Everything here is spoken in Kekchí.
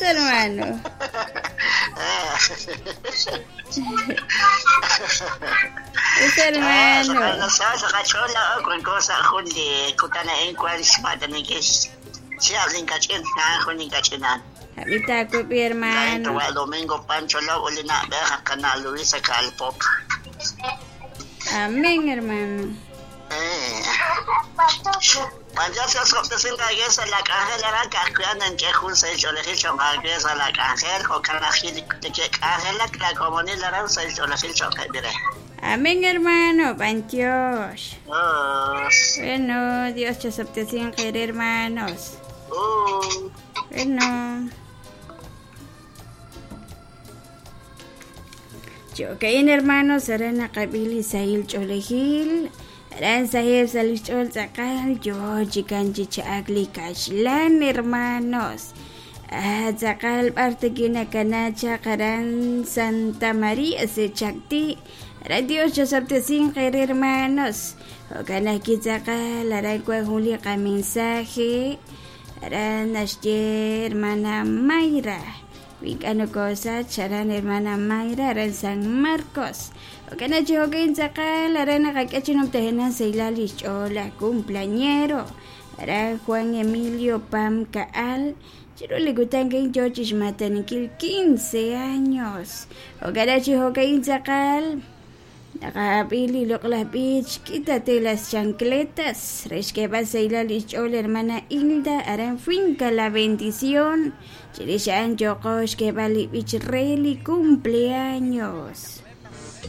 hermano. Us, hermano. Habita ko hermano. Domingo Pancho Luisa Calpop. Amén, hermano. Amén, hermano. Panchos. Bueno, Dios te hermanos. Bueno. Chokain hermanos, serena kabili sahil cholejil. Aran sahib salichol tzakal yo chikan chichakli kashlan hermanos. Ah, tzakal parte kinakanacha karan Santa María se chakti. Aran Dios chasaptesin hermanos. Okanaki tzakal aran kwa juli ka mensaje. Aran ashye hermana Mayra. Winkano cosa, charan hermana Mayra, aran San Marcos. Okana chihokin tzakal, aran nakakachinum tejenan seilali chola, cumpleañero. Aran Juan Emilio Pam Kaal, chirulikutankin yochish matanikil 15 años. Okana chihokin tzakal, nakapili lokla beach, quítate las chancletas. Reshkeba seilali chola, hermana Hilda, aran finca la bendición. Chirishan yokosh que vali bich reli cumpleaños.